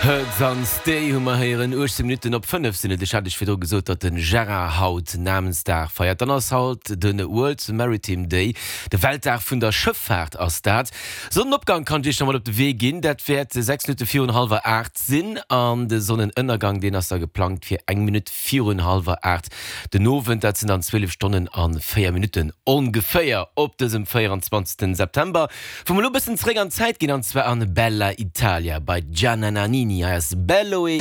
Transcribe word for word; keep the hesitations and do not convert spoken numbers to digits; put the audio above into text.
Hurts an Stay hu mer héieren uechtzéng Minutten op fënnef sinn et. Ech hat iech virdru gesot, datt de Gérard haut Namensdag feiert. Dann ass haut de World Maritime Day, de Weltdag vun der Schëffaart ass dat. Sonnenopgang kann ech iech nach mat op de Wee ginn, dat wäert sechs Minutte virun hallwer aacht sinn an de Sonnenënnergang, deen ass da geplangt fir eng Minutt virun hallwer aacht den Owend. Dat sinn dann zwielef Stonnen a véier Minutten ongeféier op dësem véieranzwanzegsten September. Wou mer elo e bëssen zeréck an d'Zäit ginn an zwar an Bella Italia bei Gianna Nannini. Hei ass Bello e